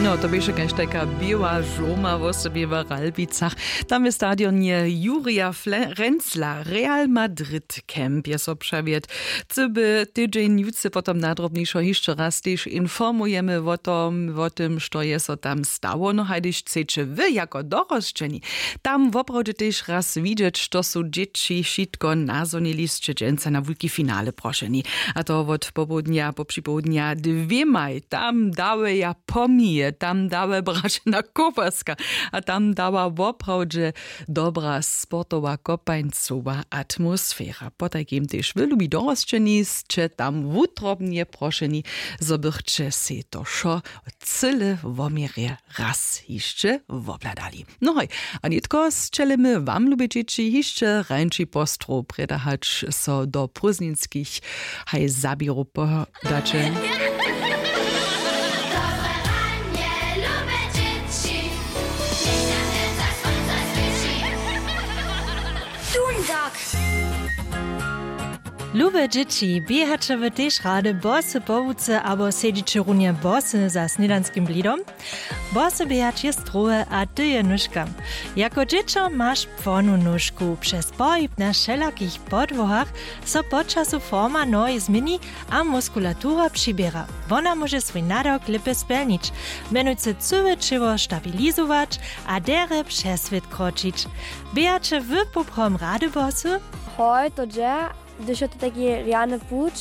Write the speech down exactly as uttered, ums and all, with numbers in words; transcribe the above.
No, to běše kaž tajka běła žurma wosebje w Ralbicach. Tam w stadionje Jurija Fle- Renzla Real Madrid Camp je so přewjedł. Chcy by tydźeń jutře potom nadrobnišo hišće raz tež informujemy wo tom wo tym što je so tam stało. No hajdyž chceće wy jako dorosćeni tam woprawdźe tež raz widźeć što su dźěći wšitko nazhonili sće dźensa na wulki finale prošeni. A to wot popołdnja po připołdnja dwěmaj tam dały ja pomije tam dały braćena kopaska. A tam dała woprawdźe dobra sportowa kopańcowa atmosfera potajkim tež wy lubi dorosćeni sće tam wutrobnje prošeni zo bychće sej to wšo cyle woměrje raz hišće wobhladali. No hoj, a nětko sćelimy wam lube dźěći hišće hrańči postrow prěda hač so do prózdninskich haj zaběrow podaće. Lube dźěći, běhaće wy tež rady bosy po łuce abo sedźiće runje bosy za snědanskim blidom? Bosy běhać je strowe a ty je nóžka. Jako dźěćo maš płonu nóžku. Přez pohib na wšelakich podłohach so po času forma nohi změni a muskulatura přiběra. Wona móže swój nadawk lěpje spjelnić, mjenujcy cyłe ćěło stabilizować a derje přez swět kročić. Běhaće wy poprawom rady bosy? Hoj, to dźe, hdyž je to taki rjany puć,